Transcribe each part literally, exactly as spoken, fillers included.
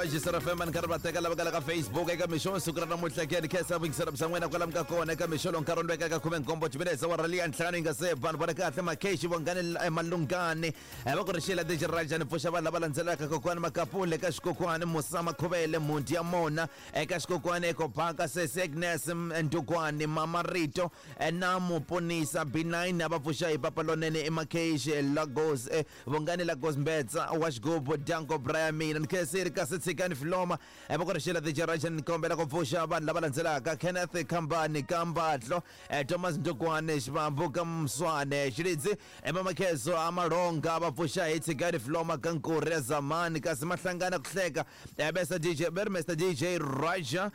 Rajisar F M nkarhi va teka lava ka Facebook eka mixo siku ra namuntlha ke ni khensa vuyingisela bya n'wina kwalamu ka kona eka mixo lowu nkarhi wu ndweka ka khume nkombo timinetse wa rali ya ntlhanu yi nga se vanhu va ri kahle Makeshi Vongani Malungani va ku ri xila D J Raja ni pfuxa vanhu lava landzelaka kokwani Makapule eka xikokwani Musa Makhuvele Mundi ya Mona eka xikokwani Ekobaka Sesi Agnes Ndukwani Mama Rito na Muponisa B nine va pfuxa hi papa lonene i Makeshi Lagos Vongani Lagos Mbetsa wa xigubu Danko Brian mina ni khenseri kasi tshikani Filoma va ku ri xila D J Raja ni kombela ku pfuxa vanhu lava landzelaka Kenneth Khambani Kambatlo Thomas Ndukwane Xivambu ka Mswane Xilidzi Emamakheso Amalonga va pfuxa hi tshikani Filoma ka Nkuri ya Zamani kasi mahlangana ku hleka besa D J ber Mister D J Raja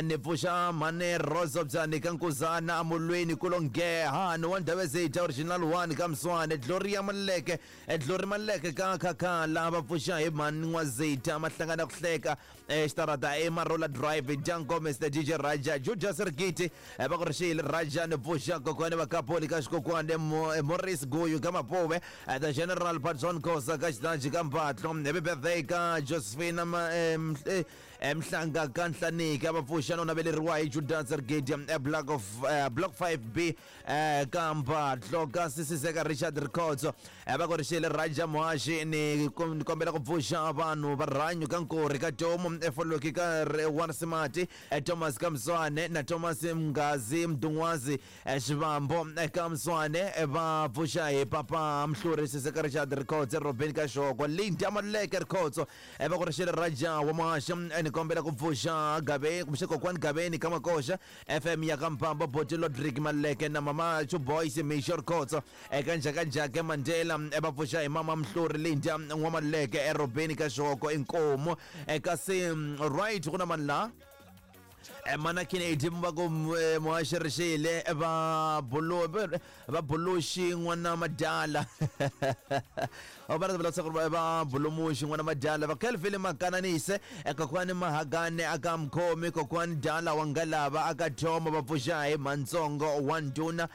ni pfuxa Mane Rosa Byani ka Nkuzana Amulweni Kulongeha ni wa Ndhavezitha original one ka Mswane Gloria Maleke Glory Maleke ka Khakhala va pfuxa hi Mani N'wazitha mahlangana ku hleka xitarata Emarola Drive Janko Mister D J Raja Judas Rigiti va ku ri xile Raja ni pfuxa kokwani va Kapoli ka xikokwani Morris Guyu ka Mapuve the General Patson Khosa ka Xitanji ka Mbatlo happy birthday ka Josephine Mhlanga ka Nhlaniki va pfuxa no naveleriwa hi Judas Rigiti block of block five B ka Mbatlo ka Sisiseka Richard Rikhotso va ku ri xile Raja Muhaxi ni kombela ku pfuxa vanhu va rhanyu ka Nkuri ka Tomu Efoloki ka Wansimati Thomas Kamswane na Thomas Mgazi Mdungwazi Xivambo Kamswane va pfuxa hi papa Mhluri Siseka Richard Rikhotso Robin Kashoko Linda Maleke Rikhotso va ku ri xile Raja wa Muhaxi ni kombela ku pfuxa Gabe kumbe kokwani Gabeni ka Makoxa F M ya ka Mpambo Boti Lodrick Maleke na Mama Chu Boys Misho Rikhotso eka Njhakanjhaka Mandela va pfuxa hi Mama Mhluri Linda N'wamaleke Robin Kashoko Inkomo kasi right ku na mani la mana Kennedy va ku Muhaxi Rixile va bulu va buluxi n'wana Madala va ri va va bulumuxi n'wana Madala va Kelvin Makananise kokwani Mahagane aka Mkhomi kokwani Dala wa Ngalava aka Thoma va pfuxa hi Mantsongo wa Nduna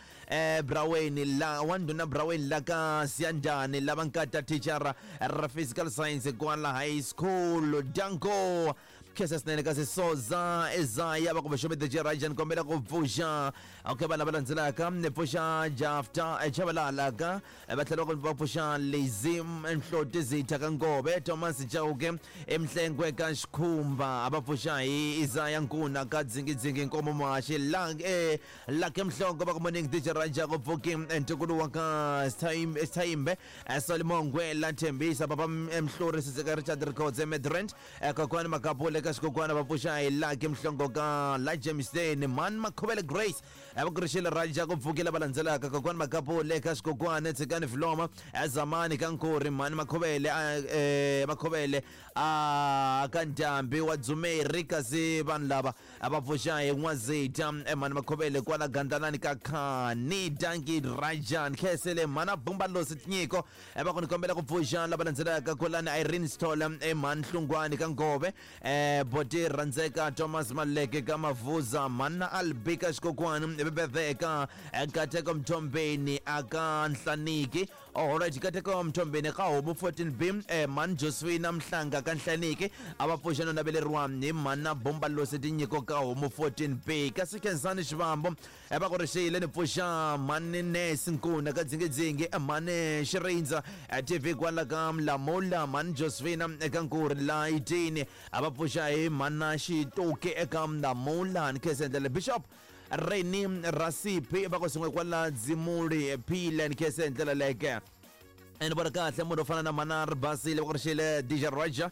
Braweni la wa Nduna Braweni la ka Siyandani lava nkata teacher ra physical science kwala high school Danko khensa swinene kasi Soza Ezaya va ku vaxomi D J Raja ni kombela ku pfuxa okay vanhu lava landzelaka ni pfuxa Jafta Chabalala ka va tlhela va pfuxa Lazy Nhloti Zitha ka Ngove Thomas Chauke Emhlengwe ka Xikhumba va pfuxa hi Isaya Nkuna ka Dzingidzingi Nkomo Muhaxi la eh Lucky Mhlongo va ku morning D J Raja ku pfuki ntukulu wa ka Sithayimbe Solomongwe la Thembisa papa Mhluri Siseka Richard Rikhotso Midrand kokwani Makapule ka xikokwani va pfuxa hi Lucky Mhlongo ka la Jameson Man Makhuvele Grace va ku ri xile Raja ku pfukile va landzelaka kokwani Makapule ka xikokwani Tshikani Filoma Zamani ka Nkuri Mani Makhuvele Makhuvele a ka Ndhambi wa Dzumeri kasi vanhu lava va pfuxa hi N'wazitha Mani Makhuvele kwala Gandanani ka Khani Danki Rajan Khesele Mana Bumba Losi Tinyiko va ku ni kombela ku pfuxa lava landzelaka kwalani Irene Stola Mani Hlungwani ka Ngove Boti Randzeka Thomas Maleke ka Mavuza Mana Albika xikokwani bebeveka Kateko Mthombeni aka Nhlaniki alright Kateko Mthombeni ka Homu fourteen B Mani Josephine Mhlanga ka Nhlaniki a va pfuxa no naveleriwa hi Mana Bomba Losi Tinyiko ka Homu fourteen B kasi Khensani Xivambo va ku ri xile ni pfuxa Mani Nesi Nkuna ka Dzingidzingi Mani Xirindza T V kwala ka Mlamula Mani Josephine eka Nkuri la Itini a va pfuxa hi Mana Xituki eka Mlamula ni khensa ndlela Bishop Reni Rasipi va ku sungwe kwala Dzimuli Phile ni khensa ndlela leke ni vona kahle munhu wo fana na Manar Basile va ku ri xile D J Raja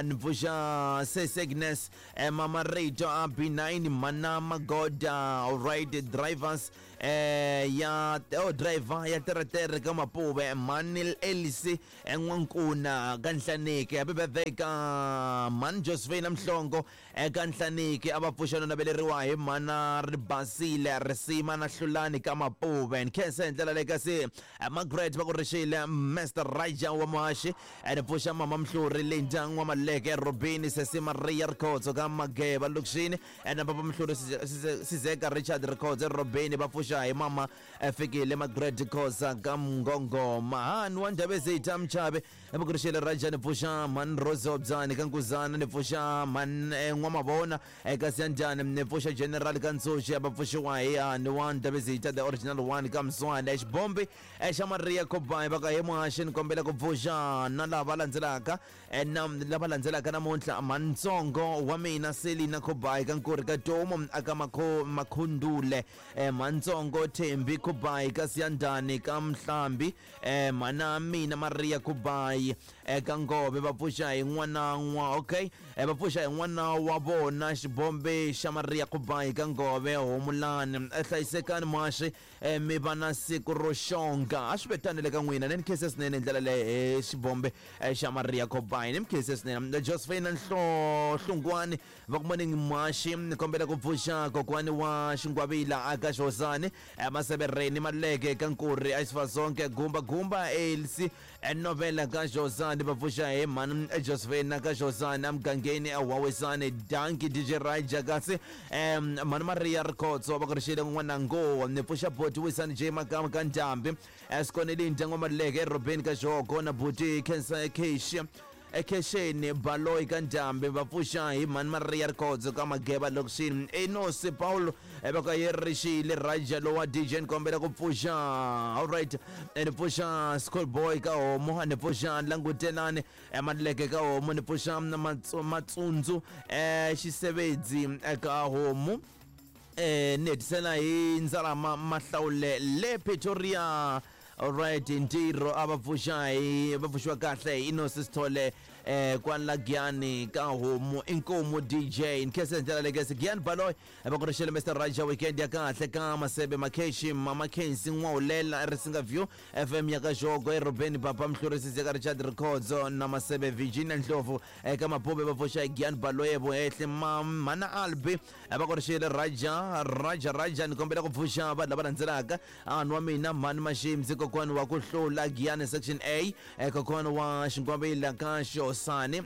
ni pfuxa Sesi Agnes Mama Rito a B nine Mana Magoda alright drivers ya oh driver ya teretere ka Mapuve Manil Elisi N'wankuna ka Nhlaniki happy birthday ka Man Josephine Mhlongo ka Nhlaniki a va pfuxa no naveleriwa hi Mana Ribasile Risima na Hlulani ka Mapuve ni khensa hi ndlela leyi kasi Margaret va ku ri xile Mister Raja wa Muhaxi ni pfuxa Mama Mhluri Linda N'wamaleke Robini Sesi Maria Rikhotso ka Mageba Lokixini na Papa Mhluri Sizeka Richard Rikhotso Robini va pfuxa pfuxa hi mama fikile Margaret Khosa ka Mngongoma. Hani wa Ndabezitha Mchabe va ku ri xile Raja, ni pfuxa mhani Rose Obyani ka Nkuzana, ni pfuxa mhani N'wamavona eka Siyandhani, ni pfuxa General ka Ntsuxi, va pfuxiwa hi hani wa Ndabezitha the original one ka Mswana. Xibombi xa Maria Kobai va ka he muhaxi, ni kombela ku pfuxa na lava landzelaka na lava landzelaka namuntlha, mhantsongo wa mina Selina Kobai ka Nkuri ka Tomo aka Makhundule, mhantsongo Thembi Kobai ka Siyandhani ka Mhlambi, mhana mina Maria Kobai eka Ngove, va pfuxa hi n'wana n'wa okay va pfuxa hi n'wana wa vona Xibombe xa Maria Kobai ka Ngove Homulani. Hlayisekani muhaxi, mi va na siku ro xonga. A swi vetanile ka n'wina, ni khense swinene ndlela leyi Xibombe xa Maria Kobai, ni mi khense swinene. Josephine Nhlongwani va ku morning muhaxi, ni kombela ku pfuxa kokwani wa Xingwavila aka Xosani, Masevereni Maleke ka Nkuri Exifasonke Gumba Gumba Elsi Novela ka Xosani, va pfuxa hi mhani Josephine ka Xosani emugangeni Wawisani. Danki D J Raja kasi mhani Maria Rikhotso va ku ri xile n'wanango, ni pfuxa boti Wisani J Makama ka Ndhambi, Sikoneli Ndyangu Maleke erobeni ka Xoko na buti Khensa Keshi ekhexeni Baloyi ka Ndhambi, va pfuxa hi mhani Maria Rikhotso ka Mageba lokixini. Enosi Paulo va ka yi ri xile Raja lowa D J, ni kombela ku pfuxa alright, ni pfuxa School Boy ka Homo, ni pfuxa Langutelani Maleke ka Homo, ni pfuxa Matsundzu Xisebedzi ka Homo, ni hetisela hi Ndzalama Mahlawule le Pretoria. Alright, ntirho a va pfuxa hi va pfuxiwa kahle hi Inosi Sithole eh kwala Giyani ka Homo. Inkomu D J nkhense ndlela lekese Giyani Baloyi va ku ri xile Mister Raja, weekend ya kahle ka Masebe Makheshi Mama Khensi N'wawulela Risinga View F M ya ka Xoko erobeni Papa Mhlurisi ka Richard Rikhotso na Masebe Virginia Ndlovu eka Mapobe, va pfuxa hi Giyani Baloyi Vuhehle Mana Albi va ku ri xile Raja Raja Raja, ni kombela ku pfuxa vanhu lava landzelaka, anhu wa mina Mhani Mashimzi kokwani wa ku hlula Giyani section A, kokwani wa Xingwavila ka Xosani,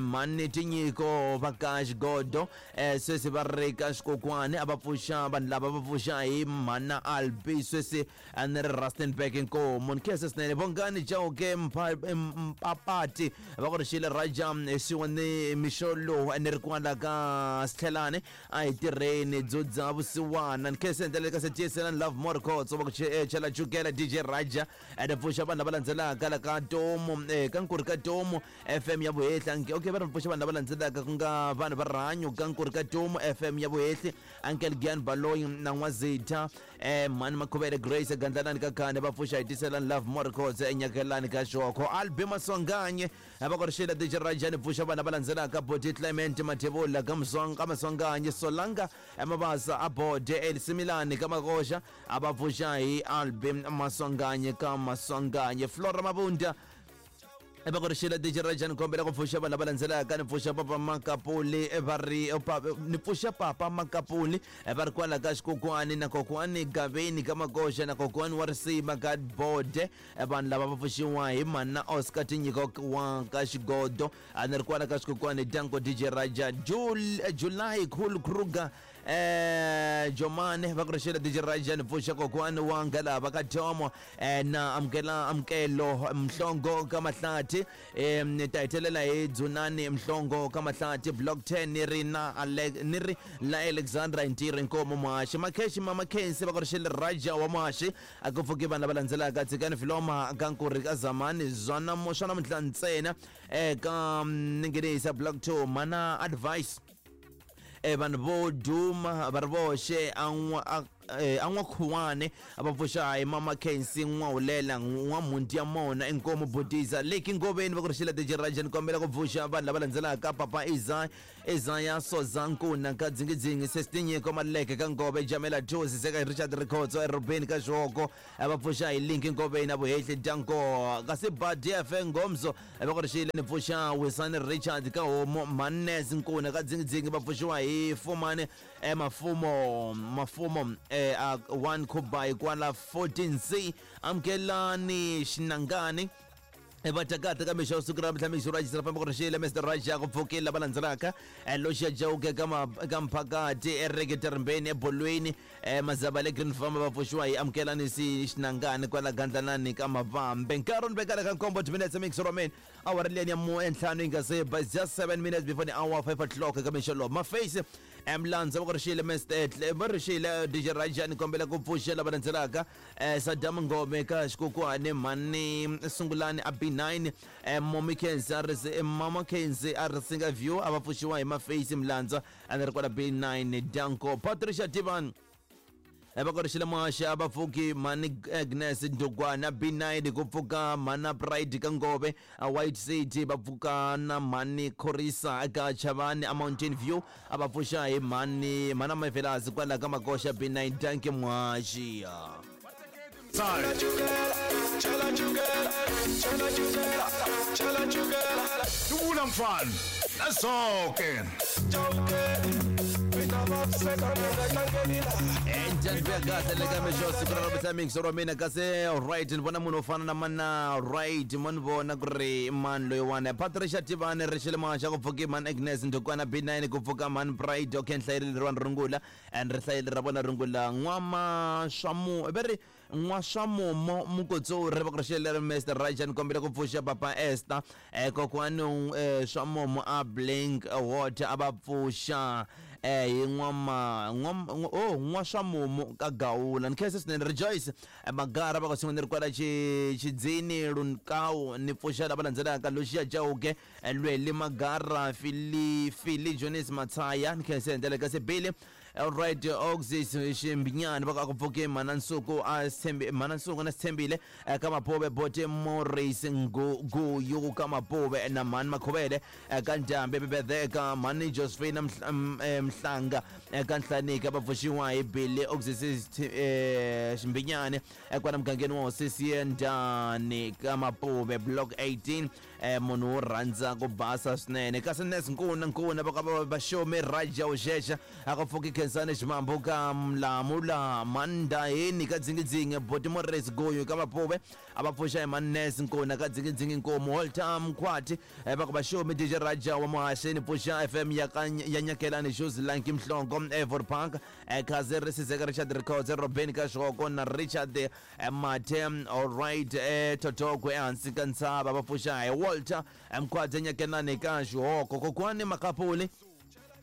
mhani Tinyiko va ka Xigodo, sweswi va ri ka Xikokwani, a va pfuxa vanhu lava va pfuxa hi mhana Albi, sweswi a ni ri Rustenburg. Nkomo ni khense swinene. Vongani Chauke Mpapati va ku ri xile Raja swin'we ni mixo lowu ni ri kwala ka Sitlhelani, a hi tirheni dzudza vusiwana. Ni khense ndlela ka Setiyeselani Love More Khotso va ku chela chukela D J Raja, ni pfuxa vanhu lava landzelaka la ka Tomo ka Nkuri ka Tomo F M ya Vuhehli. Okay, va ri pfuxa vanhu lava landzelaka ku nga vanhu va rihanyo ka Nkuri ka Tomo F M ya Vuhehli, Uncle Giyani Baloyi na N'wazitha, mhani Makhuvele Grace Gandlalani ka Khane, va pfuxa hi Tiselani Love More Khotso enyakelani ka Xoko. Albi Maswanganye va ku ri xile D J Raja, ni pfuxa vanhu lava landzelaka Boti Clement Mathebula ka Muswanga Maswanganye, Solanga Mabasa Abode Elsimilani ka Makoxa, a va pfuxa hi Albi Maswanganye ka Maswanganye. Flora Mabunda va ku ri xile D J Raja, ni kombela ku pfuxa vanhu lava landzelaka, ni pfuxa Papa Makapuli va ri ni pfuxa Papa Makapuli va ri kwala ka Xikokwani na kokwani Gaveni ka Makoxa na kokwani wa Risima ka Bode, vanhu lava va pfuxiwa hi mhana Oscar Tinyiko wa ka Xigodo, a ni ri kwala ka Xikokwani. Danko D J Raja. July Cool Kruger eh Jomane va ku ri xile D J Raja, ni pfuxa kokwani wa Ngalava ka Tomo na amukela amukelo Mhlongo ka Mahlathi, eh ni ta hetelela hi Dzunani Mhlongo ka Mahlathi block ten, ni ri na ni ri la Alexandra Ntirho Nkomo Muhaxi Makheshi Mama Khensi va ku ri xile Raja wa Muhaxi. A ku pfuki vanhu lava landzelaka Tshikani Filoma ka Nkuri ka Zamani zwana swa namuntlha ntsena eka Ninginisa block two mana advice vanhu vo duma va ri voxe a n'wakhuwane va pfuxa hi Mama Khensi N'wawulela N'wamhundi ya mona Inkomu Budisa Leki Ngoveni va ku ri xile D J Raja, ni kombela ku pfuxa vanhu lava landzelaka Papa Isaya Isaya Sozankuna ka Dzingidzingi Sesitinyiko Maleke ka Ngove Jamela Josi Seka Richard Rikhotso erobeni ka Xoko, va pfuxa hi Linki Ngoveni a Vuhehli Danko kasi Badi F Ngomso va ku ri xile ni pfuxa Wisani Richard ka Homo Mannes Nkuna ka Dzingidzingi, va pfuxiwa hi Fumani Mafumo Mafumo one Kubai kwala fourteen C Amkelani Xinangani Vatakata ka mixo siku ra mihla mixo ra xisira famba ku ri xile Mister Raja ku pfukile lava landzelaka Loxia Jauke ka ka mphakati erekete rimbeni ebolweni mazaba le Green Farm va pfuxiwa hi amukelani si xinangani kwala gandlanani ka mavambe nkarhi ni vekala ka nkombo minutes mix roman awara liyani ya mu entlhanu yi nga se by just seven minutes before the hour five o'clock ka mixo lowu maface emlandza va ku ri xile Mister va ri xile D J Raja ni kombela ku pfuxa lava landzelaka Saddam Ngome ka xikokwani mhani Sungulani a B nine Momi Kenzi a ri Mama Kenzi a ri singa view a va pfuxiwa hi maface Mlandza a ni ri kwala B nine Danko Patricia Divan va ku ri xile muhaxi a va pfuki mhani Agnes Ndugwana B nine ku pfuka mhana Pride ka Ngove a White City va pfuka na mhani Khorisa ka Chavani a Mountain View a va pfuxa hi mhani mhana Mavelazi kwala ka Makoxa B nine Danke muhaxi. Dubula mfana nasonke right ni vona munhu wo fana na mana right mo ni vona ku ri mani loyiwani Patricia Tivani ri xile muhaxa ku pfuki mani Agnes Ndukwana B nine ku pfuka mani Pride okay nhlayeli leriwani rungula and ri hlayeli ra vona rungula n'wama swamu va ri n'waswamumo mukotsori va ku ri xile Mister Raja ni kombela ku pfuxa papa Esther kokwani swamumo a Blink Water a va pfuxa hi n'wama oh n'waswamumo ka Gawula ni khensa swinene Rejoice Magara va ku swin'wana ri kwala Xidzini Lunkawu ni pfuxa lava landzelaka Lucia Chauke Lweli Magara Fili Fili Jonas Matsaya ni khensa hi ndlela ka Sibili alright Oxys Ximbinyani va ku pfuke mana Nsuku a Sithembi mana Nsuku na Sithembile ka Mapobe Bote Morris Nguyu ka Mapobe na mani Makhuvele ka Ndambe Bebedeka mani Josephine Mhlanga ka Nhlanika va pfuxiwa hi Billy Oxys Ximbinyani kwala mugangeni wa Hosi Ndani ka Mapobe Block eighteen munhu wo rhandza ku basa swinene kasi Nes Nkuna Nkuna va ka va Xome Raja Uxexa a ku pfuki Khensani Ximambo ka Mlamula Mandaheni ka Dzingidzingi Boti Morris Goyo ka Mapobe a va pfuxa hi Manes Nkuna ka Dzingidzingi Nkomo Walter Mkhwati va ku va Xome D J Raja wa Muhaxeni pfuxa F M ya ka ya Nyakelani Shoes Lanki Mhlongo Evor Park Kaze Risizeka Richard Records Robin ka Xoko na Richard Mathe alright Totoko ehansi ka ntshava va pfuxa hi Walter Mkhwati Nyakelani ka Xihoko kokwani Makapuli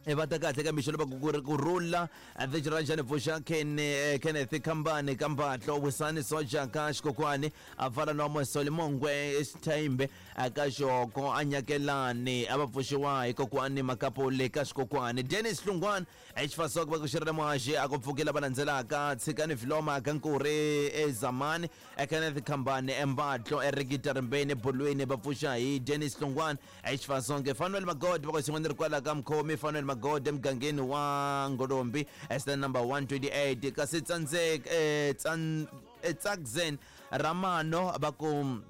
va ta kahle ka mixo lava ku rhula Vijiraja pfuxa Ken Kenneth Kambani Kambatlo Wisani Soja ka Xikokwani a fana na Mosoli Mongwe Xithembe ka Xoko a Nyakelani a va pfuxiwa hi kokwani Makapuli ka Xikokwani Dennis Hlungwana Xifasoko va ku xirela muhaxi a ku pfukela va landzelaka Tshikani Viloma ka Nkuri eZamani Kenneth Kambani Embatlo Erikita Rimbeni Bolweni va pfuxa hi Dennis Hlungwana Xifasonke Fanuel Magod va ku xin'wana ri kwala ka Mkhomi Fanuel Magode mugangeni wa Ngolombi stand number one twenty-eight kasi Tsandzek eh Tsan Tsakzen Ramano va ku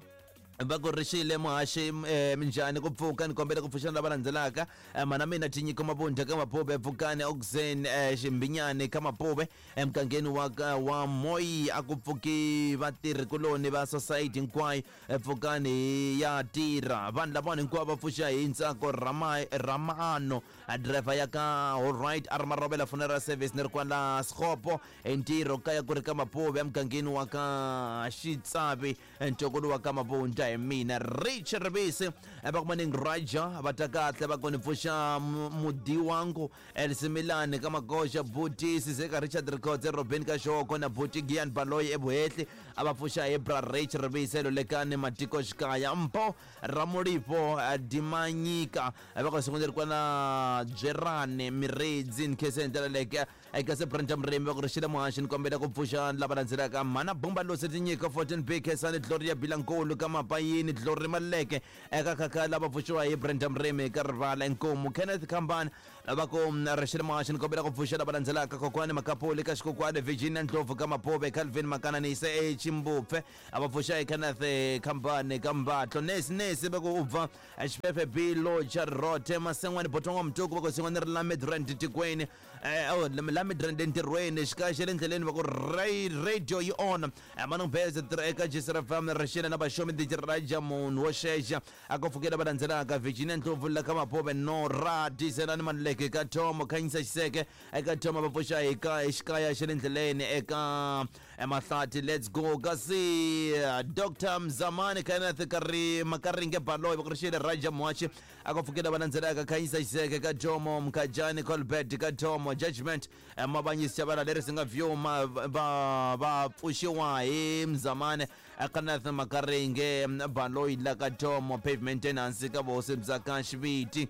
va ku ri xile muhaxi minjhani ku pfuka ni kombela ku pfuxana lava landzelaka mana mina Tinyiko Mabunda ka Mapobe pfukani Oxen Ximbinyani ka Mapobe emugangeni wa wa Moyi a ku pfuki vatirhi kuloni va society hinkwayo pfukani ya tirha vanhu lavawani hinkwavo va pfuxa hi Ntsako Ramano driver ya ka alright a ri Marobela funeral service ni ri kwala Sixopo hi ntirho kaya ku ri ka Mapobe emugangeni wa ka Xitsavi ntokolo wa ka Mabunda hi mina Rich Ribisi va ku maning Raja va ta kahle va ku ni pfuxa Mudiwangu Elsimilani ka Magoxa Buti Sizeka Richard Records Robin ka Xoko na Buti Gian Baloyi eBuhehli a va pfuxa hi Bra Rich Ribisi Lolekani Matiko Xikaya Mpo Ramulipo Dimanyika va ku sekondari kwana Byerani Miredzi Nkhese ndlela leke eka se Brenda Mremi va ku ri xile muhaxi ni kombela ku pfuxa lava landzelaka mana Bumba Losi Tinyiko fourteen B Khensani Gloria Bilankulu ka Mapayini Glory Maleke eka khakha lava pfuxiwa hi Brenda Mremi ka Rivala Nkomo Kenneth Kambani va ku ri xile muhaxi ni kombela ku pfuxa lava landzelaka kokwani Makapuli ka Xikokwani Virginia Ndlovu ka Mapobe Calvin Makananise Chimbupfe a va pfuxa hi Kenneth Khambane ka Mbatlo Nesi Nesi va ku u bva Xifefe B Locha Rothe Masengwani Botongo Mtuku va ku sin'wana ri la Midrand tikweni eh la Midrand entirhweni xikaya xa le ndleleni va ku radio yi on Manong Beze eka G C F M rixile na vaxomi Raja munhu wo xexa a ku pfukela va landzelaka Virginia Ndlovu la ka Maphove no ra Diselani Maluleke ka Tom Khanyisa Xiseke eka Tom va pfuxa hi ka xikaya xa le ndleleni eka Mahlati let's go kasi Doctor Mzamani Kenneth Kari Makaringe Baloyi va ku rixile Raja Mwachi a ku pfukela va landzelaka Khanyisa Xiseke ka Jomo Mkhajani Colbert ka Tomo Judgment Mabanyisi Chavara leri singa view ma va va pfuxiwa hi Mzamani Kenneth Makaringe Baloyi la ka Tomo pavement maintenance ka vosi bya ka Xiviti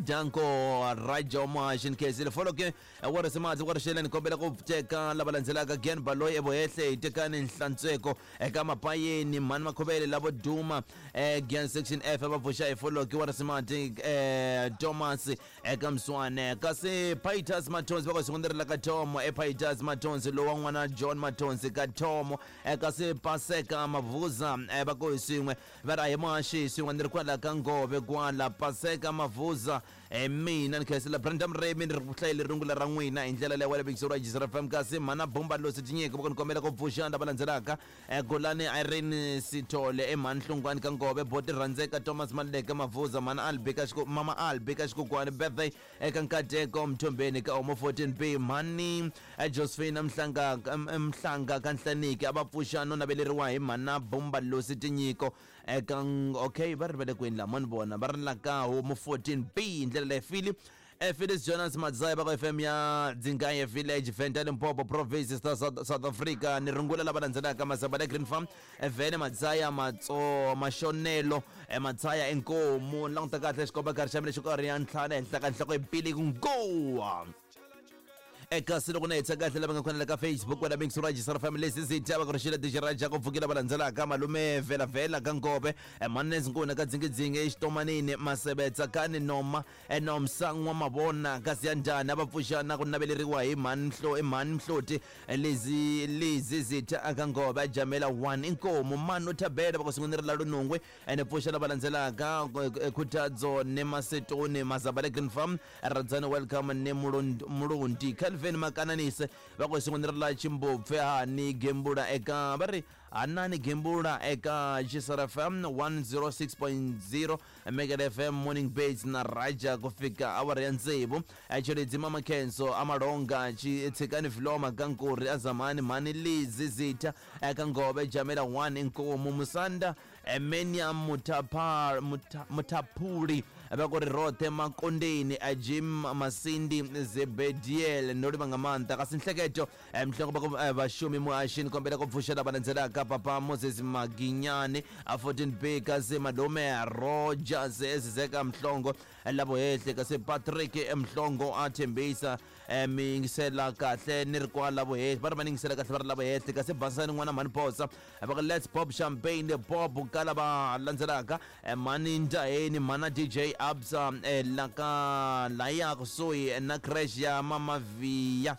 Danko Raja Mwachi Nkhensile foloke wa risimadzi wa rixeleni kombela ku teka lava landzelaka Gen Baloyi evohehle tekani Nhlantsweko eka Mapayeni Mhani Makhovele lavo duma Gen section F va pfuxa hi foloke wa risimadzi Thomas eka Mswane kasi Pitus Matonzi va ku sungurela ka Tomo e Pitus Matonzi lowa n'wana John Matonzi ka Tomo kasi Paseka Mavuza va ku swin'we va ra hi Mwachi swin'we ni ri kwala ka Ngove kwala Paseka Mavuza mina ni khensela Brandon Remy ni ri ku hlayele rungula ra n'wina hi ndlela leyi wa le Big G C F M kasi mhana Bumba Losi Tinyiko va ku ni kombela ku pfuxa lava landzelaka Golani Irene Sithole emhani Hlungwani ka Ngove Boti Rhandzeka Thomas Maluleke Mavuza mhana Albi ka Xiko mama Albi ka Xikokwani birthday eka Nkateko Mthombeni ka Homo fourteen B mhani Josephine Mhlanga Mhlanga ka Nhlaniki a va pfuxa no naveleriwa hi mhana Bumba Losi Tinyiko eka okay va ri va le kwini la mani vona va ri la ka Homo fourteen B ndlela leyi Philip Phyllis Jonas Madzaya va ka F M ya Dzingaye Village Venda Limpopo Province South, South Africa ni rungula lava landzelaka Masaba le Green Farm Vene Madzaya Matso Mashonelo Madzaya Inkomu languta kahle xikomba karhi xa mina xo karhi ya ntlhanu ehenhla ka nhloko ipili ku ngowa eka loko na hetsa kahle lava nga khona ka Facebook wena Big Suraj Sar Family Lezi va ku rixile Raja ku pfukela va landzelaka malume Vela Vela ka Ngove Mannes Nkuna ka Dzingidzingi eXitomanini Masebetsa kani Noma Nomsangwa Mavona kasi ya njhani va pfuxana ku naveleriwa hi Mhani Mhlo Mhani Mhloti Lezi Lezi Zitha ka Ngove Jamela one Inkomo Manu Thabela va ku sungurela Lunungwe ene pfuxana va landzelaka Khutadzo ne Masetoni Mazabale Green Farm Radzani welcome ne Mulundi Calvin Makananise va ku sungurela Chimbupfe hani gembula eka va ri Hanani gembula eka G C F M one oh six point zero Mega F M Morning Bates na Raja ku fika awara ya tsevu Cheledzi Mama Kenso Amalonga Tshikani Viloma Kankuri Azamani Mani Lizi Zitha eka Ngove Jamela one Inkomo Musanda Emenia Mutapar Mutapuri va ku ri Rothe Makondeni Jim Masindi Zebediel no ri va nga maanḓa kasi nhleketo mhloko va ku vaxumi muhaxini kombela ku pfuxela va landzelaka Papa Moses Maginyani a fourteen B kasi Malume Rogers Ezizeka Mhlongo lavo hehle kasi Patrick Mhlongo a thembisa mingisela kahle ni ri kwala lavo hehle va ri va ningisela kahle va ri lavo hehle kasi Basani n'wana Mhani Phosa va ku let's pop champagne pop ka lava landzelaka Mhani Ndaheni Mhana D J Absa laka laya kusuhi na crash ya Mama Via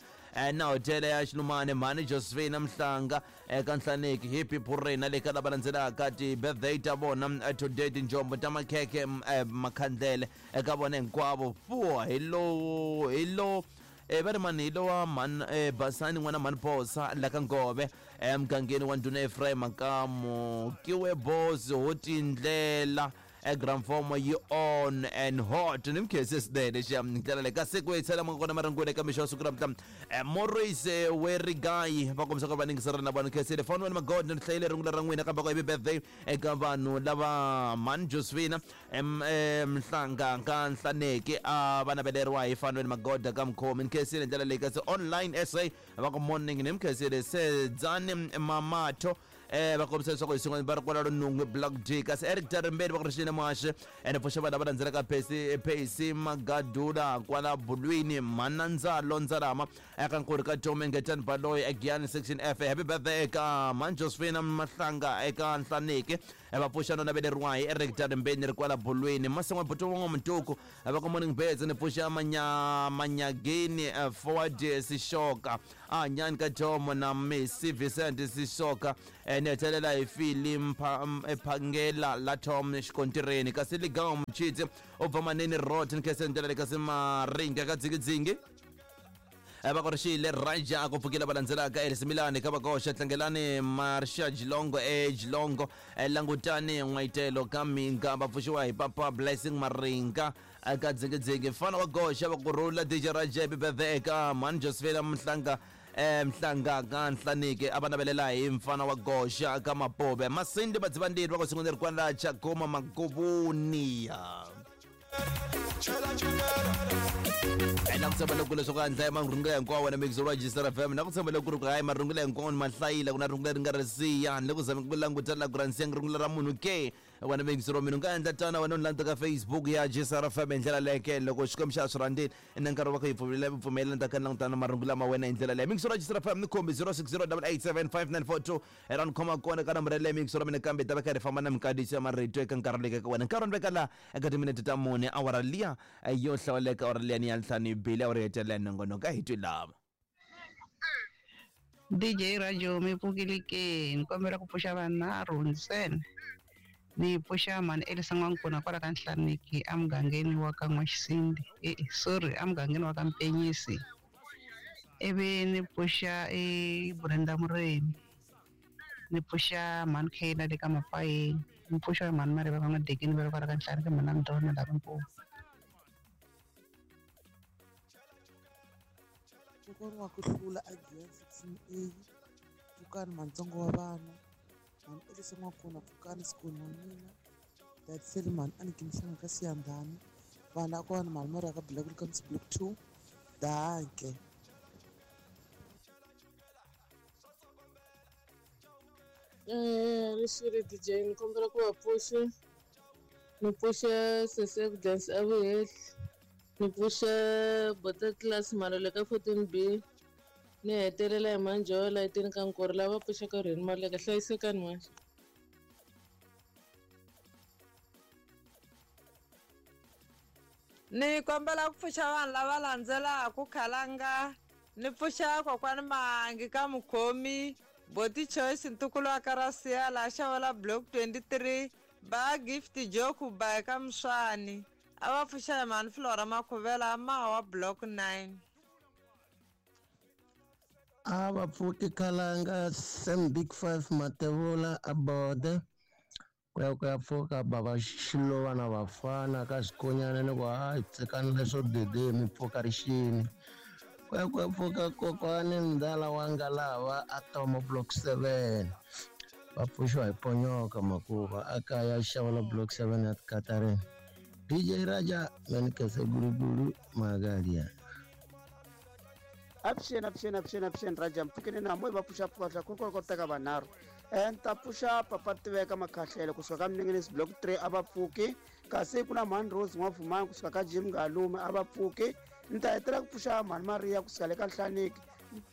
na hotela ya Xilumane Mhani Josephine Mhlanga eka Nhlaneki Happy Purena le ka lava landzelaka ti-birthday ta vona today tinjombo ta makhekhe makhandlele eka vona hinkwavo fuwa hi lowu hi lowu e va ri mani hi lowa mhani Basani n'wana Mhani Phosa la ka Ngove emugangeni wa Ndhuna Ephraim Makamu kiwe boss ho tindlela Gramfomo yi on and hot ni mkhese swinene xa ndlela leyi kasi ku hetsela ma kona marungula eka mixo wa siku ra mhla Maurice Werigayi va kombisa ku va ningisela na vanhu khensile foni wa magod ni hlayile rungula ra n'wina kambe ku happy birthday eka vanhu lava Mhani Josephine Mhlanga ka Nhlaneki a va naveleriwa hi Fanweni Magoda ka Mkhomi ni khensile ndlela leyi kasi online S A va ku morning ni mkhensile Sedzani Mamatho eh va kombisa leswaku hi swin'wana va ri kwala Lunungwe Block D kasi Eric Tarimbeni va ku rixile Muhaxi ene pfuxa vanhu lava landzelaka Pesi Pesi Magadula kwala Bulwini Mhanandzalo Ndzalama eka Nkuri ka Tom Ngetani Baloyi Egiyani section F happy birthday eka Mhani Josephine Mahlanga eka Nhlaneki Va pfuxa no naveleriwa hi Eric Tarimbeni ri kwala bolweni masan'wa buto wa Mtuku va ka Morning Birds ni pfuxa manya manyageni forward Sishoka a nyani ka Jomo na Messi Vincent Sishoka ni hetelela hi Philip Phangela la Tom xikontireni kasi Ligawo Mchitsi u bva Manene Road ni khesendela le kasi Maringa ka Dzingidzingi va ku ri xile Raja ku pfukile va landzelaka Erisimilani ka vakoxa Tlangelani Marsha Jilongo e Jilongo Langutani N'waitelo ka Minga va pfuxiwa hi Papa Blessing Maringa ka Dzingidzingi mfana wa goxa va ku rhula D J Raja happy birthday eka Mhani Josephine Mhlanga Mhlanga ka Nhlaniki a va navelela hi mfana wa goxa ka Mapobe Masindi Madzivandiri va ku sungula ri kwala Chagoma Magubuniya. Na ku tshemba loko leswaku a ndlaya marungula hinkwawo wena mixo wa Register F M na ku tshemba loko ri ku hayi marungula hinkwawo ni mahlayila ku na rungula ri nga ri siya ni le ku zama ku langutela ku ra nsiya rungula ra munhu ke wena mixo wa mina u nga endla tana wena u landza ka Facebook ya Register F M hi ndlela leke loko Xikwembu xa swi rhandzile na nkarhi wa ku yi pfumelela pfumelela ta ka langutana marungula ma wena hi ndlela leyi mixo wa Register F M ni khombi zero six zero eight eight seven five nine four two hi ra ni khoma kona ka nambara leyi mixo wa mina kambe ta va karhi famba na minkandziyiso ya marito eka nkarhi leke ka wena nkarhi ni veka laha eka timinete ta mune awara liya yo hlawuleka awara liya ni ya ntlhanu bile awara hetelela nongonoko a hi twi lava. D J Rajo mi pfukile ke ni kombela ku pfuxa vanharhu ntsena ni pfuxa mhani Elisa N'wankuna kwala ka Nhlaniki emugangeni wa ka N'waxisindi e sorry emugangeni wa ka Mpenyisi ivi ni pfuxa e Brenda Mureni ni pfuxa mhani Khena le ka Mapayeni ni pfuxa mhani Mariva ka N'wadekeni va le kwala ka Nhlaniki mhani Amdona la Limpopo. Kokwana wa ku hlula a Giyani sixteen A Pfukani Mantsongo wa vana mhani Elisa N'wankuna Pfukani Sikoni wa mina Datiseli mhani Aniki Mhlanga ka Siyandhani vana kona mhani Maria ka Black ka Block two danke. Eh rixiri D J ni kombela ku va pfuxa ni pfuxa Sesi Evidence a Vuhehli ni pfuxa Bota Class Malole ka fourteen B ni hetelela hi Manjola etini ka Nkori lava pfuxaka Rheni Maleka hlayisekani manje. Ni kombela ku pfuxa vanhu lava landzelaka Khalanga ni pfuxa kokwani Mangi ka Mukhomi Boti Choice ntukulu wa ka Rasiya laha Xavela Block twenty-three ba Gift Joku ba ka Mswani a va pfuxa hi mhani Flora Makhuvela mawa Block nine. A va pfuki Khalanga Sam Big Five Matevula a bode ku ya ku ya pfuka bava Xilova na vafana ka Xikonyana ni ku hayi tsekani leswo dede mi pfuka rixini ku ya ku ya pfuka kokwani Ndala wa Ngalava a Tomo Block seven va pfuxiwa hi Ponyoka Makuva a kaya Xavela Block seven ya Katarina. D J Raja menikese guruguru magalia. Avuxeni avuxeni avuxeni avuxeni Raja mpfukeni na moyi va pfuxa pfuka ku ku teka vanharhu ni ta pfuxa papa Tiveka Makhahlele kusuka ka Mninginisi Block three a va pfuki kasi ku na mhani Rose N'wavumani kusuka ka Jim Ngalume a va pfuki ni ta hetelela ku pfuxa mhani Maria kusuka le ka Nhlaniki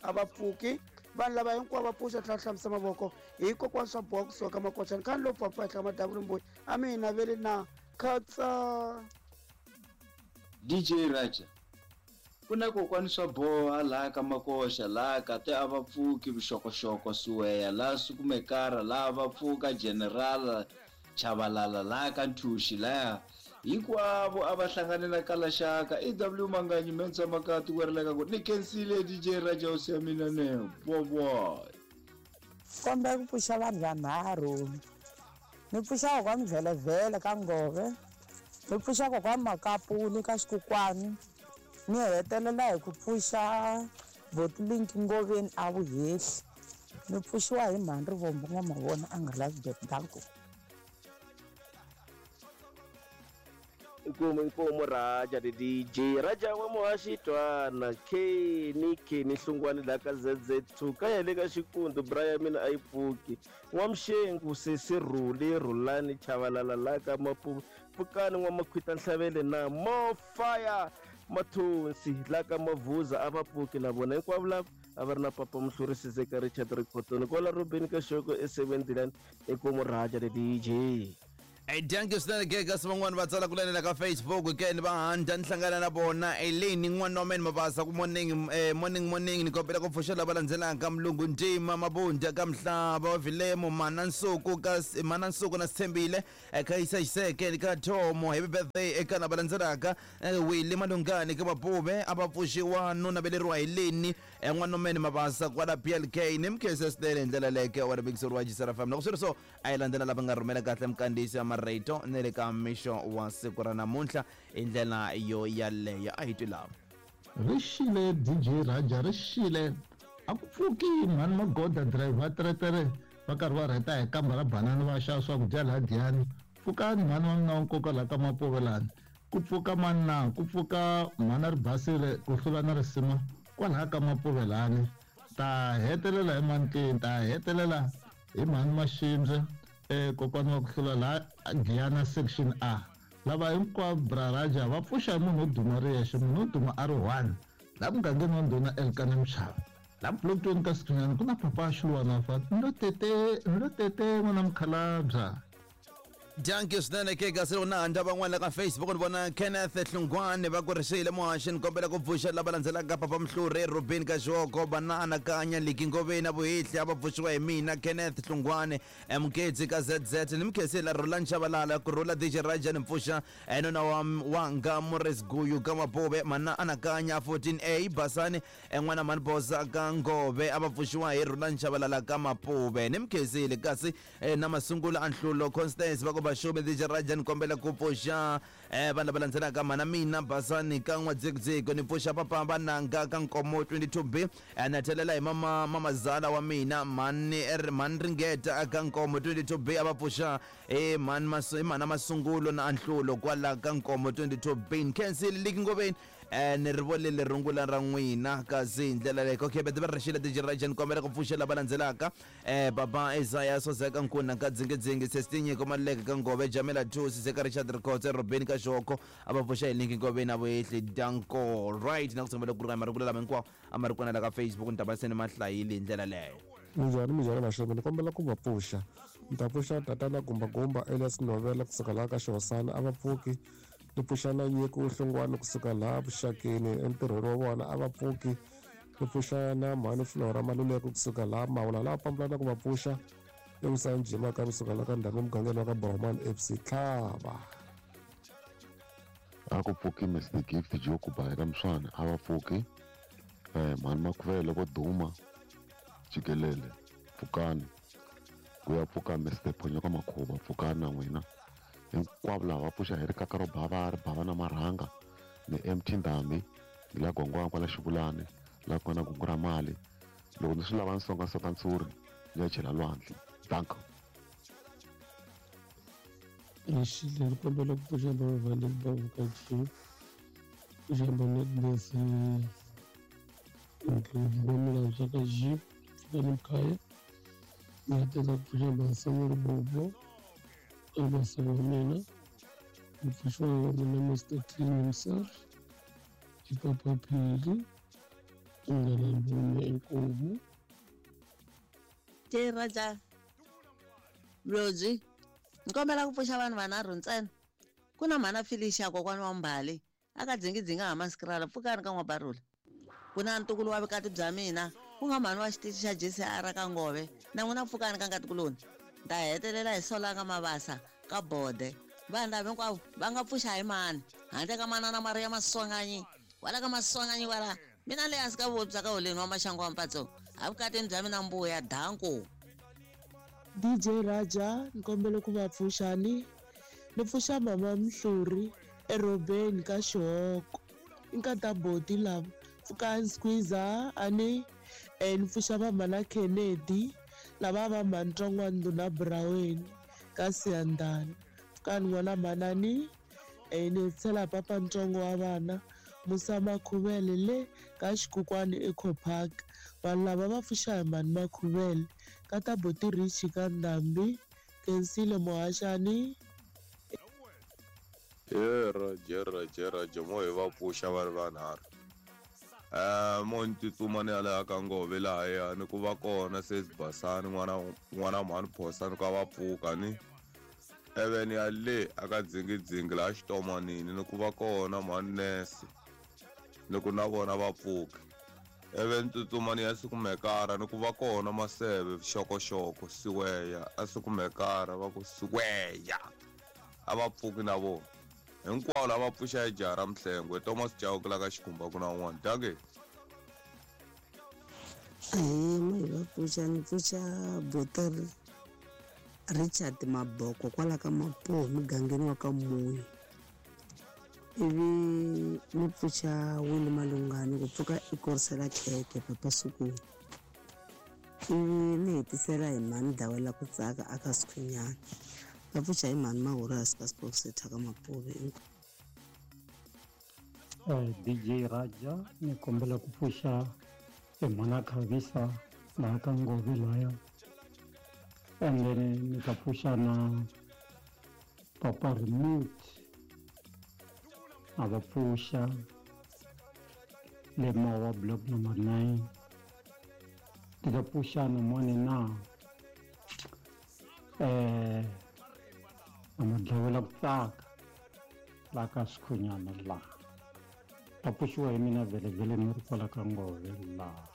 a va pfuki vanhu lava hinkwavo va pfuxa tlhela hlambisa mavoko hi kokwana swa boha kusuka ka Makochani khani lo pfapfa henhla ka madavula a mi hi naveli na khatsa. D J Raja ku na kokwani swa boha laha ka Makoxa laha kate a va pfuki vuxokoxoko Suweya laha Sukumekara laha va pfuka General Chavalala laha ka Nthuxi laha hinkwavo a va hlanganela ka Laxaka E W Manganyi Mensa Makati ku rileka ku ni khensile D J Raja hosi ya mina ne boboy. Kombela ku pfuxa vanhu vanharhu ni pfuxa kokwani Vhelevhele ka Ngove ni pfuxa kokwani Makapuni ka Xikukwani ni hetelela hi ku pfuxa Botlink Ngoveni a Vuhehli ni pfuxiwa hi mhani Rivombo N'wamavona a nga lavi danko. Inkomu inkomu Raja the D J Raja wa muhaxi twana Keni Keni Hlungwani la ka Z Z two ka ya le ka Xikundu bra ya mina a yi pfuki N'wamxengu Sesi Rhuli Rhulani Chavalala la ka Mapupu Pfukani N'wamakhwita Nhlavele na Mo Fire Mathonsi la ka Mavuza a va pfuki na vona hinkwavo lava A va ri na papa Muhluri Sizeka Richard Rikhotoni kwala Robin ka Xoko e seventy-nine ekumu Raja the D J. Hey, thank you swinene ke kasi van'wani va tsala ku lanela ka Facebook ke ni va handza ni hlangana na vona Eleni n'wana wa mina Mabasa ku morning eh, morning morning ni kombela ku pfuxa lava landzelaka Mulungu Ntima Mabunda ka Mhlaba wa Vilemo Mana Nsuku ka Mana Nsuku na Sithembile eka Isa Xiseke ka Thomo happy birthday eka lava landzelaka Willy Malungani ka Mapuve a va pfuxiwa no naveleriwa hi Leni n'wana wa mina Mabasa kwala P L K ni mkhese swinene hi ndlela leyo ke wa ri wa Jisara F M loko swi ri so a yi landzela lava nga rhumela kahle mkandziyisi ya marito na le ka mixo wa siku ra namuntlha hi ndlela yo yaleyo a hi twi lava ri xile D J Raja ri xile a ku pfuki mhani magoda driver teretere va karhi va rheta hi kamba ra banana va xava swakudya laha Giyani pfukani mhani wa mina wa nkoka laha ka Mapovelani ku pfuka mani na ku pfuka mhani ri basile ku hlula na risima kwalaha ka Mapovelani ta hetelela hi mani ke ta hetelela hi mhani Maxindze eh kokwana wa ku hlula laha Giyana section A lava hinkwavo bra Raja va pfuxa munhu wo duma ri yexe munhu wo duma a ri one laha mugangeni wa ndhuna Elkana Mchava laha block twenty ka Sikhunyana ku na papa Xiluwana fa ndo tete ndo tete n'wana mukhalabya. Thank you swinene ke kasi loko na handza van'wana ka Facebook ni vona Kenneth Hlungwane va ku rixile muhaxi ni kombela ku pfuxa lava landzelaka papa Mhluri Robin ka Xoko bana anakanya Liki Ngoveni a Vuhihli a va pfuxiwa hi mina Kenneth Hlungwane Mketsi ka Z Z ni mkhesela Roland Shabalala ku rhula D J Raja ni pfuxa nuna wa wanga Morris Guyu ka Mapuve mana anakanya fourteen A Basani n'wana mani Bosa ka Ngove a va pfuxiwa hi Roland Shabalala ka Mapuve ni mkhesile kasi na Masungulo Anhlulo Constance va ku Bashume D J Raja ni kombela ku pfuxa eh vanhu lava landzelaka mana mina Basani ka N'wadzikudziku ni pfuxa papa vananga ka Nkomo twenty-two B na thelela hi mama mamazala wa mina mani mani Ringeta ka Nkomo twenty-two B a va pfuxa eh mani masu mana Masungulo na Anhlulo kwala ka Nkomo twenty-two B Nkensile Liki Ngoveni eh ni ri vonile rungula ra n'wina kasi hi ndlela leyo okay bete va rixile D J Raja ni kombela ku pfuxa lava landzelaka eh baba Isaiah Sozeka Nkuna ka Dzingidzingi Sestinyi Maleka ka Ngove Jamela Thusi Seka Richard Rikhotse Robin ka Xoko a va pfuxa hi Linki Ngoveni a Vuhihli danko right na ku tshembela ku ri marungula lama hinkwawo a ma ri kona la ka Facebook ni ta va se ni ma hlayile hi ndlela leyo. Minjhani minjhani Maxome ni kombela ku va pfuxa ni ta pfuxa tatana Gumbagumba Elias Novela kusuka laha ka Xihosana a va pfuki ni pfuxa na Nyiko Hlongwane kusuka laha Vuxakeni entirhweni wa vona a va pfuki ni pfuxa na mhani Flora Maluleke kusuka laha Mawula laha pambulana ku va pfuxa emusanjima ka kusuka laha ka ndhawu emugangeni wa ka Boromani F C Tlhava. A ku pfuki Mister Gift Joe ku ba eka Mswana a va pfuki eh mhani Makhuvele vo duma jikelele pfukani ku ya pfuka Mister Phonyoka Makhuva pfukani na n'wina hinkwavo lava va pfuxa hi rikaka ro bava ri bava na marhanga ni M T Ndhambi ni la Gongwana kwala Xivulani la ku nga na gungu ra mali loko ni swi lava ni songasoka ntshuri ni ya chela lwandle danko. Rixile ni kombela ku pfuxa vavaleli va vukati pfuxa vanetness Ndlovu va Milandza ka G pfukani Mkhaya ni hetelela ku pfuxa Masan'weri Bobo ka wa mina ni pfuxiwa wa mina Mister Clean himself i Papa Phili Munghana Lume inkomu. J Raja Mlodzi ni kombela ku pfuxa vanhu vanharhu ntsena ku na mhana Felicia kokwana wa Mbali a ka dzingidzinga ha Maskrala pfukani ka N'wabarula ku na ntukulu wa vukati bya mina ku nga mhani wa xitichi xa J C R ka Ngove na n'wina pfukani ka nkatikuloni ta hetelela hi Solanga Mabasa ka Bode vanhu lava hinkwavo va nga pfuxa hi mani handle ka manana Maria Maswanganyi wala ka Maswanganyi wala mina le hansi ka vuvabyi bya ka holeni wa maxangu wa mpatso a vukatini bya mina mbuya danko. D J Raja ni kombela ku va pfuxani ni pfuxa mama Mhluri erobeni ka Xihoko i nkata boti lava pfukani squeezer ani eh ni pfuxa mama na Kennedy lava va mhantsongo ndhuna Braweni ka Siyandhani pfukani n'wana manani eh ni tshela papa ntsongo wa vana Musa Makhuvele le ka Xikukwani Eco Park vanhu lava va pfuxa hi mhani Makhuvele ka ta boti Richi ka Ndhambi Kensile Muhaxani. Ye Raja Raja Raja mo hi va pfuxa va ri vanharhu Eh mo ni tsutsuma ni ya laha ka Ngove lahaya ni ku va kona sesi Basani n'wana n'wana mhani Phosa ni ku va pfuka ni even ya le aka dzingidzingi laha xitomanini ni ku va kona mhani nese ni ku na vona va pfuka even tsutsuma ni ya Sikumekara ni ku va kona Maseve Xokoxoko Siweya a Sikumekara va ku Siweya a va pfuki na vona hinkwavo lava pfuxa hi jaha ra Mhlengwe Thomas Chauke la ka Xikhumba ku na un'wana danke. Ahee mo hi va pfuxa ni pfuxa Boter Richard Maboko kwala ka Mapuwa mugangeni wa ka Muyi, ivi ni pfuxa Winnie Malungani ku pfuka i korisela khekhe papa Sukuni, ivi ni hetisela hi mhani Dawela ku tsaka aka Sikhunyana, va pfuxa hi mhani Mahurasi ka Sport ka Mapuve. D J Raja ni kombela ku pfuxa mhana Khavisa laha ka Ngove laya, and then ni ta pfuxa na Papa Remote a va pfuxa le Mawa block number nine, ti ta pfuxa na mone na eh na Madlawela ku tsaka laha ka Sikhunyana laha ta pfuxiwa hi mina vhelevhele ni ri kwala ka Ngove laha.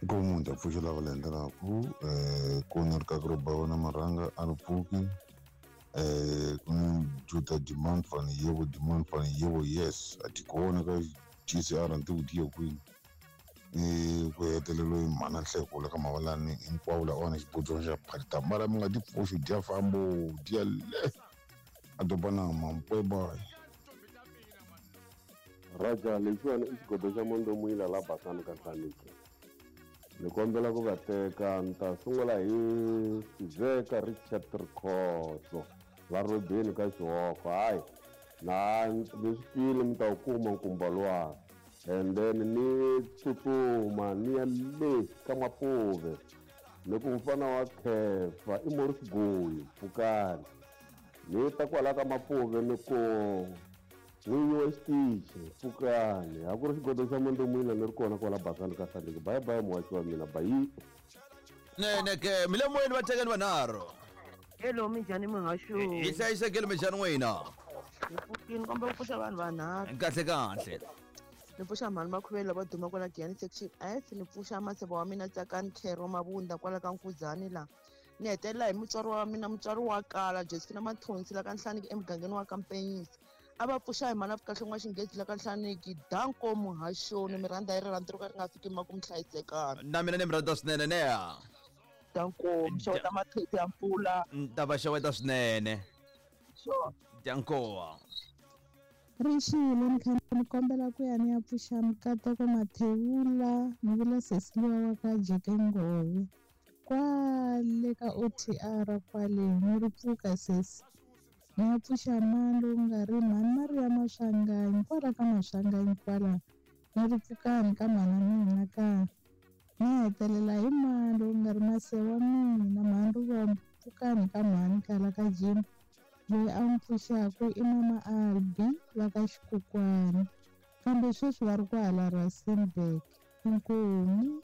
Nkomu ta pfuxa lava landzelaka eh ku ni ri ka ro ba wona marhanga a ni pfuki eh ku ni Juda demand fan yebo demand fan yebo yes a ti kona ka G C R ni ti ku kwini eh ku hetelelo hi mhana Nhleko la ka Mavalani hinkwavo la ona xibodzo xa phalita mara mi nga ti pfuxi dya fambo dya le a doba na mampweba. Raja lexiwani i xigodo xa Mondomwila la Basani ka Nhlaniki, ni kombela ku va teka ni ta sungula hi Sizeka Richard Rikhotso la Robeni ka Xihoko. Hayi na ni swi twile mi ta wu kuma nkumba luwa, and then ni tsutsuma ni ya le ka Mapuve ni ku mfana wa Khefa i Morris Goyi pfukani, ni ta kwala ka Mapuve ni ku n'winyi wa xitichi pfukani, a ku ri xigodo xa Mondomwila ni ri kona kwala Basani ka Nhlaniki. Bye bye muhaxi wa mina bayi. Nene ke mi le moyeni va tekeni vanharhu. Hello minjhani muhaxo? Hi hlayisekile minjhani n'wina? Hi pfukini komba ku pfuxa vanhu vanharhu. Kahle kahle. Ni pfuxa mhani Makhuvele lava duma kwala Giyani section F, ni pfuxa maseve wa mina Tsakani Khero Mabunda kwala ka Nkuzani la. Ni hetelela hi mutswari wa mina mutswari wa kala Josephina Mathonsi la ka Nhlaniki emugangeni wa ka Mpenyisi. A va pfuxa hi mhana Kahle n'wa Xinghezi la ka Nhlaniki. Danko muhaxoni mi rhandza hi rirhandzu ro ka ri nga fiki makumu hlayisekana. Na mina ni mi rhandza swinene neya. Danko xeweta matheti ya mpfula. Ta va xeweta swinene. Sure. Danko. Rixile ni kha ni kombela ku ya ni ya pfuxa Mukateko Mathewula ni vula Cecilia wa ka Jeke Ngove kwale ka O T R kwale ni ri pfuka sesi ni ya pfuxa mani lowu nga ri mhani Maria Maswanganyi kwala ka Maswanganyi kwala ni ri pfukani ka mhana mina ka ni hetelela hi mani lowu nga ri mase wa mina mhani Rivombo pfukani ka mhani kala ka Jim loyi a n'wi pfuxaka i mama Albi va ka Xikukwani kambe sweswi va ri kwahala Rustenburg. Inkomu.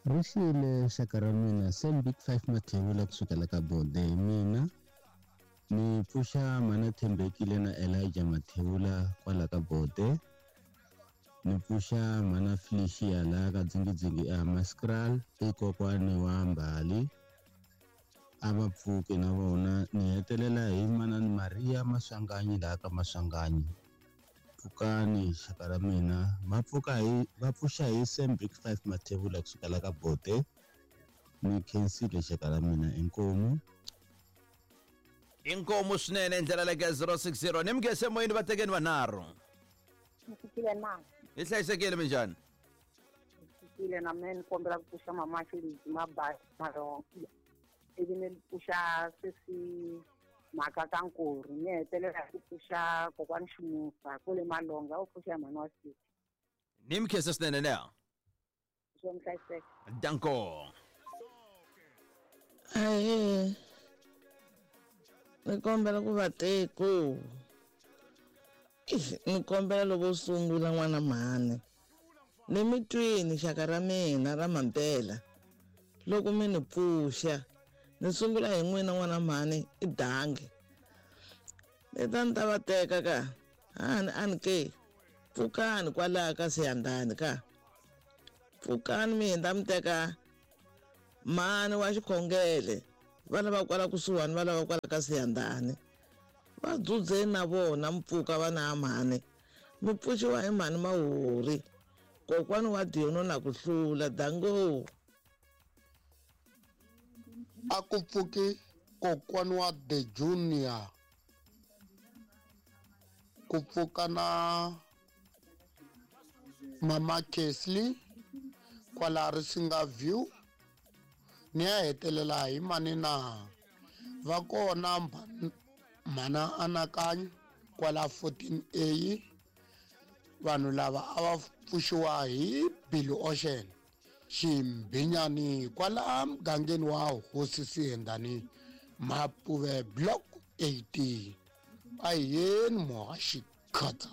Rixile xaka ra mina Sam Big Five Mathewula kusukela ka Bode hi mina ni pfuxa mhana Thembekile na Elijah Mathewula kwala ka Bode, ni pfuxa mhana Felicia laha ka Dzingidzingi a Maskral i kokwani wa Mbali a va pfuki na vona, ni hetelela hi manani Maria Maswanganyi laha ka Maswanganyi. Pfukani xaka ra mina va pfuka hi va pfuxa hi Sam Big Five Mathewula kusukela ka Bode. Ni khensile xaka ra mina inkomu. Inkomu swinene ndlela le ka zero six zero ni mugese moyeni va tekeni vanharhu. Ni fikile na. Hi hlayisekile minjhani? Ni fikile na mina ni kombela ku pfuxa mama Xilidzi Mabasa Malonga, ivi ni pfuxa sesi Mhaka ka Nkori, ni hetelela ku pfuxa kokwani Ximusa kule Malonga u pfuxa mhani wa Sisi. Ni mi khensa swinene neya. Swo mi hlayiseka. Danko. Ahee ni kombela ku va teko Ni kombela loko sungula n'wana mhani ni mi twini xaka ra mina ra mampela loko mi ni pfuxa ni sungula hi n'wina n'wana mhani i dangi ni ta ni ta va teka ka hani a ni ke pfukani kwalaho ka Siyandhani ka pfukani mi hindza mi teka mhani wa xikhongele va lava kwala kusuhani va lava kwala ka Siyandhani va dzudzeni na vona mi pfuka vana ha mhani mi pfuxiwa hi mhani Mahori kokwani wa Diono na ku hlula dango. A ku pfuki kokwani wa The Junior ku pfuka na Mama Kesley kwala Risinga View ni ya hetelela hi mani na va kona mhana Anakanyo kwala fourteen A vanhu lava a va pfuxiwa hi Billy Ocean Ximbinyani kwala mugangeni wa Hosi Siyendani Mapuve Block eighteen. A yeni muhaxi khatsa.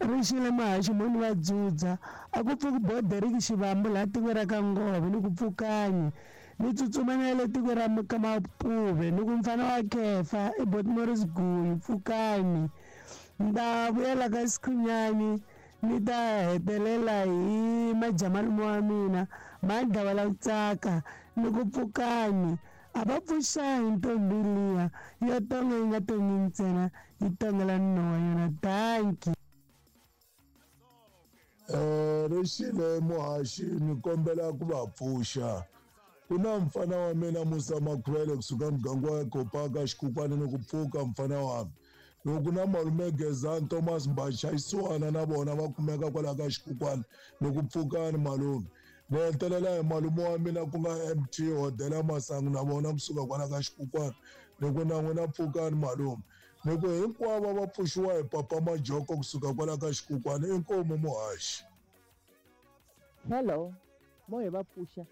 Rixile muhaxi moni va dzudza a ku pfuki Boderiki Xivambu laha tiko ra ka Ngove ni ku pfukanyi ni tsutsuma na le tiko ra ka Mapuve ni ku mfana wa Kefa i Bot Morris Guyu pfukani ni ta vuyela ka Sikhunyani ni ta hetelela hi majamalume wa mina Mandla la ku tsaka ni ku pfukani a va pfuxangi ntombi liya yo tonga yi nga tongi ntsena yi tongela nuna wa yona. Danki. Eh rixile muhaxi ni kombela ku va pfuxa ku na mfana wa mina Musa Makhwele kusuka muganga wa Kopaka Xikukwana ni ku pfuka mfana wa mina loko na malume Gezani Thomas Mbacha Isiwana na vona va kumeka kwala ka Xikukwana ni ku pfukani malume ni hetelela hi malume wa mina ku nga M T Hodela Masangu na vona kusuka kwala ka Xikukwana ni ku na n'wina pfukani malume ni ku hinkwavo va pfuxiwa hi Papa Majoko kusuka kwala ka Xikukwana inkomu muhaxi. Hello, mo hi va pfuxa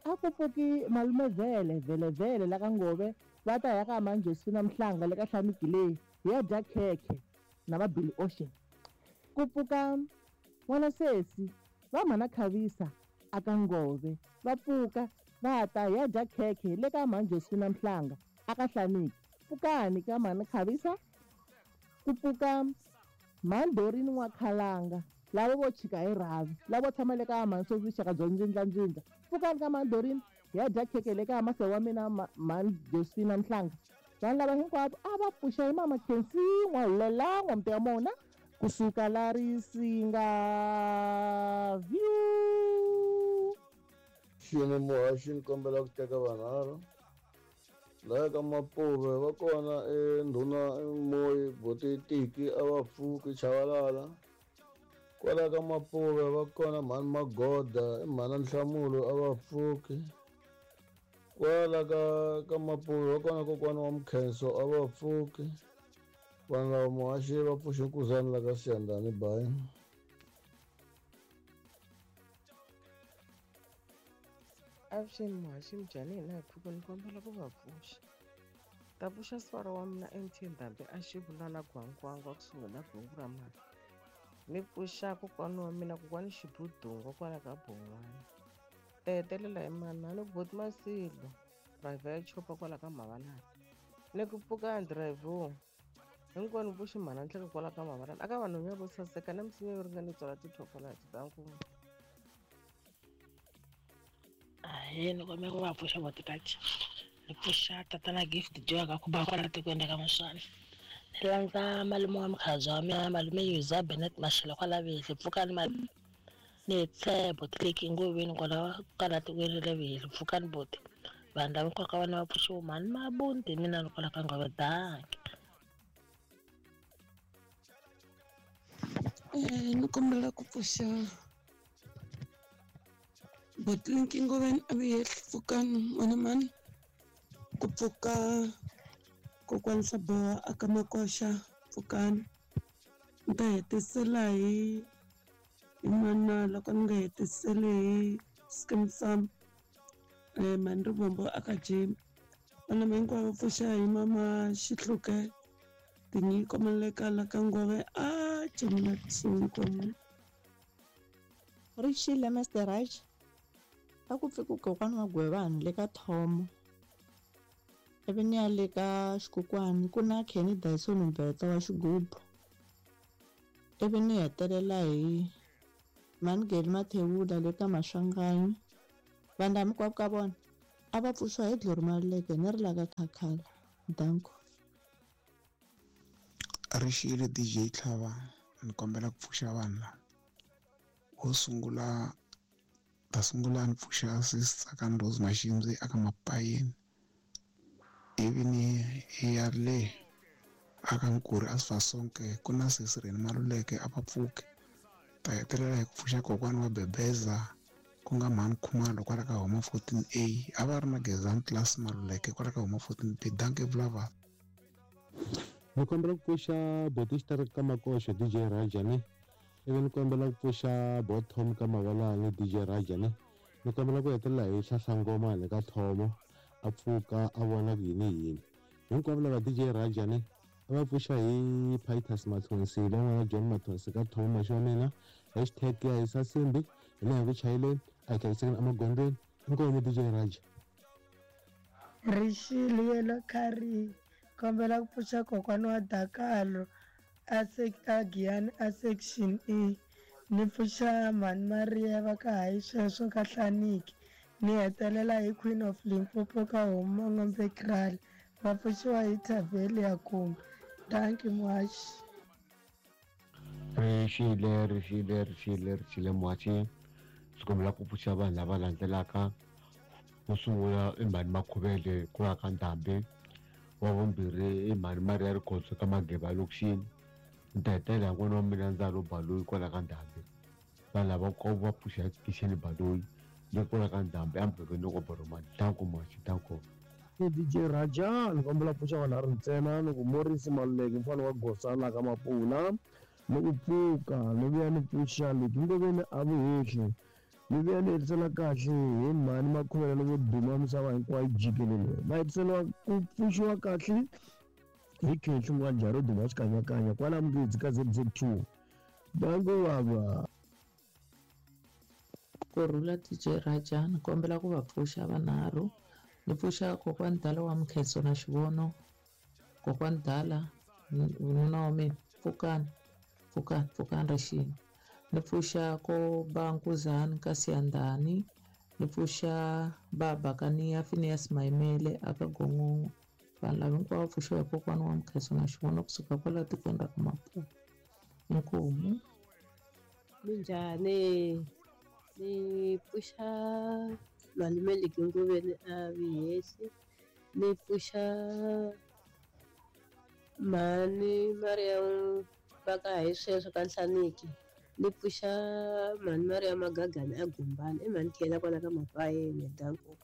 a ku pfuki malume vhele vhele vhele la ka Ngove va ta ya ka Manjosina Mhlanga le ka Hlamigile hi ya dya khekhe na va Billy Ocean. Ku pfuka n'wana sesi va mhana Khavisa a ka Ngove va pfuka va ta hi ya dya khekhe le ka Manjosina Mhlanga a ka Hlamigi. Pfukani ka mhana Khavisa. Ku pfuka Mandorini n'wa Khalanga lavo vo chika hi rhavi lavo tshama le ka mhani Sofixaka byo ndzindlandzindla. Pfukani ka Mandorini hi ya dya khekhe le ka mase wa mina mhani Josefina Mhlanga. Vanhu lava hinkwavo a va pfuxa hi mama Khensi N'wahulela N'wamti wa mona kusuka la Risinga View. Xini muhaxi ni kombela ku teka vanharhu laha ka Mapuve va kona endhuna Moyi Botitiki a va pfuki Chavalala kwala ka Mapuve va kona mhani Magoda i mhana Nhlamulo a va pfuki kwala ka ka Mapuve va kona kokwana wa Mkhenso a va pfuki vanhu lava muhaxi va pfuxe nkuzani la ka Siyandhani bayi. Avuxeni muhaxi minjhani hina hi pfuka ni kombela ku va pfuxa ta pfuxa sivara wa mina M T Ndhambi a xivula na Gwangwangwa kusuhi na Gongo ra Mali ni pfuxa kokwani wa mina kokwani Xibudungo kwala ka Bon'wana ta hetelela hi manana ni ku boti Masilo driver ya chopa kwala ka Mavanani ni ku pfuka driver hinkwenu pfuxi mhana nhleka kwala ka Mavanani aka vanhu ya vo saseka na misinya yo ringana tswala tithokolati ta nkuma. Ahee, ni kombela ku va pfuxa votikachi ni pfuxa tatana Gift Joy ka ku ba kwala tikweni ka Muswana ni landza malume wa mukhalabye wa mina malume Yuza Benet Mashele kwala Vehli pfukani malume ni hetisela botileki ngoveni kwala kwala tikweni ra Vehli pfukani boti vanhu lava nkoka vana va pfuxiwa mhani Mabunti mina ni kwala ka Ngove danki. Eh ni kombela ku pfuxa Botlinki Ngoveni a vuye pfukani n'wana mani ku pfuka kokwani Swaboha a ka Makoxa pfukani ni ta hetisela hi hi mana loko ni nga hetiseli hi Skeem Saam eh mhani Rivombo a ka Jim vana hinkwavo pfuxa hi mama Xihluke Tinyiko Maleka la ka Ngove a cemela kusuhi. Rixile Mister Raj a ku pfuki kokwana wa Gwevani le ka Thomo ivi ni ya le ka Xikokwani ku na Kenny Dyson Mbetsa wa xigubu ivi ni hetelela hi Mangeli Mathewula le ka Maswanganyi. Vanhu lava hinkwavo ka vona a va pfuxiwa hi Glory Maluleke ni ri la ka Khakhala. Danko. Rixile D J Tlhava, ni kombela ku pfuxa vanhu lava. Wo sungula ta sungula ni pfuxa sis Tsakani Rose Mashimzi aka Mapayeni, ivi ni ya le aka Nkuri a Sifasonke ku na sesi Reni Maluleke a va pfuke. Ta hetelela hi ku pfuxa kokwana wa Bebeza ku nga Mhani Khumalo kwala ka Homa fourteen A, a va ri na Gezani Class Maluleke kwala ka Homa fourteen B. Dankie Blava. Ni kombela ku pfuxa Botista ka Makoxo D J Rajani, ivi ni kombela ku pfuxa Botom ka Mavalani D J Rajani, ni kombela ku hetelela hi Hlahlangoma le ka Thomo a pfuka a vona ku yini yini. Hinkwavo lava D J Rajani a va pfuxa hi Pitus Mathonsi van'wana John Mathonsi ka Thomo maxi wa mina, hashtag ya hisa simbi hi leha ku chayeleni a hi hlayisekeni emagondzweni. Inkomu D J Raja. Rixile yelo khari kombela ku pfuxa kokwana wa Dakalo a a Giyani a section E, ni pfuxa Mhani Maria va ka hayi sweswo ka Hlaniki, ni hetelela hi Queen of Limpopo ka Homa N'ombe Kraal, va pfuxiwa hi Thaveli ya Kumbe. Dankie muhaxi. Rixile rixile rixile rixile muhaxi, ndzi kombela ku pfuxa vanhu lava landzelaka. Wo sungula i Mhani Makhuvele ku ya ka Ndhambi, wa vumbirhi i Mhani Maria Rikhotso ka Mageba lokixini, ni ta hetelela hi n'wana wa mina Ndzalo Baloyi kwala ka Ndhambi. Vanhu lava ko va pfuxa Kisheni Baloyi le kwala ka Ndhambi emugangeni wa Boromani. Danko muhaxi, danko. D J Raja, ni kombela ku pfuxa vanhu a ri ntsena, ni ku Morris Maluleke mfana wa Gosana ka Mapula, ni ku pfuka ni vuya ni pfuxa Leki Ngoveni a Vuhehli, ni vuya ni hetisela kahle hi Mhani Makhuvele loko duma misava hinkwayo jikelele. Va hetiseliwa ku pfuxiwa kahle hi Khenhli N'wanjhari duma xikanyakanya kwala Mungedzi ka Z Z two. Danko baba. Kurhula D J Raja, ni kombela ku va pfuxa vanharhu. Ni pfuxa kokwani Dala wa Mkhenso na Xivono, kokwani Dala nuna wa mina, pfukani pfukani pfukani rixini. Ni pfuxa ko Bankuzani ka Siyandhani, ni pfuxa baba ka Niya Phineas Maimele aka Gongongo. Vanhu lava hinkwavo va pfuxiwa hi kokwana wa Mkhenso na Xivono kusuka kwala tikweni ra ka Maputo. Inkomu. Minjhani? Ni pfuxa malume Leki Ngoveni a Vihehli, ni pfuxa Mhani Maria va ka hi sweswo ka Nhlaniki, ni pfuxa Mhani Maria Magagani a Gumbani, i Mhani Khela kwala ka Mapayeni. Danko.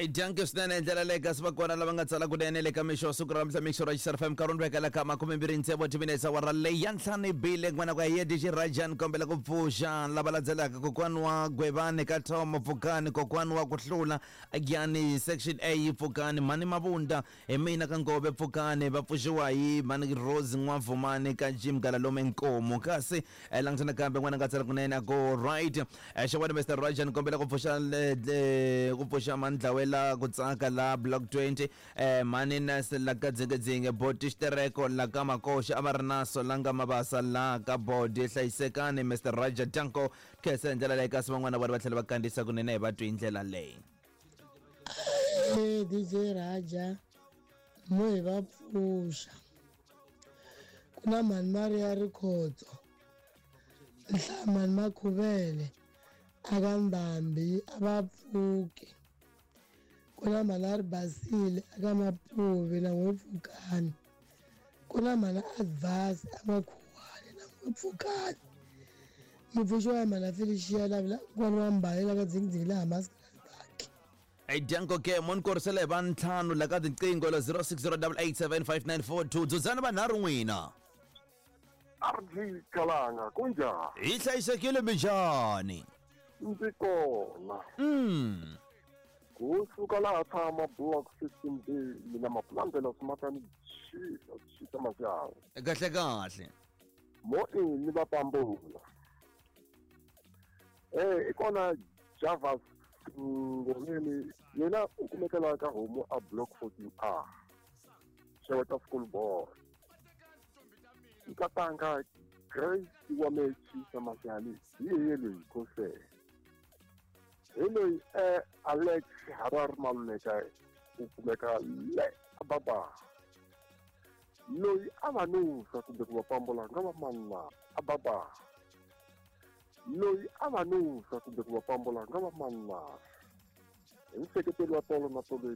Dankie swinene hi ndlela leyi kasi va kona lava nga tsala kunene le ka mixo wa siku ra namuntlha mixo ra Xisar F M nkarhi wu vekela ka makume mbirhi ntsevu timinetse awara leyi ya ntlhanu bile n'wana ku ya D J Rajan kombela ku pfuxa lava landzelaka kokwani wa Gwevani ka Thomo pfukani, kokwani wa ku hlula Giyani section A pfukani, Mhani Mavunda hi mina ka Ngove pfukani, va pfuxiwa hi Mhani Rose N'wavumani ka Jim Galalome Nkomo. Kasi langutana kambe n'wana nga tsala kunene a go right xewani Mister Rajan kombela ku pfuxa ku pfuxa Mandlawela ku tsaka la block twenty eh mani nas la ka dzingedzinge boti xitereko la ka Makoxa a va ri naso la nga Mabasa la ka bodi hlayisekani Mister Raja Danko khensa hi ndlela leyi kasi van'wana vona va tlhela va kandziyisa kunene hi va twi hi ndlela leyi. Hey D J Raja, mo hi va pfuxa ku na Mhani Maria Rikhotso, Mhani Makhuvele aka Ndhambi a va pfuki, ku na Mhani a ri Basile aka Mapuve na n'we pfukani, ku na Mhani Advance a Makhuwani na n'we pfukani. Mi pfuxiwa hi Mhani Felicia la n'wana wa Mbali la ka Dzingidzingi laha Maskrati. Danko ke mo ni korisela hi va ntlhanu la ka tinqingho la zero six zero eight eight seven five nine four two dzudzani vanharhu n'wina. R G Kalanga kunjani? Hi hlayisekile minjhani? Ndzi kona. Mm. Kusuka laha tshama block fifteen B mina mapulandela swimakani xisa xisa majaha. Kahle kahle. Mo ni va pambula. Eh ikona Javas Ngomeni yena u kumekela ka homu a block fourteen A. Xeweta school board. Nkatanga Grace wa Mechi Samashani hi yeye loyi kose. Hi loyi eh Alex Harar Maluleka u kumeka le ababa. Loyi a va nusa kumbe ku va pambola nga va manna ababa. Loyi a va nusa kumbe ku va pambola nga va manna. Hi nseketelo wa tolo na tolo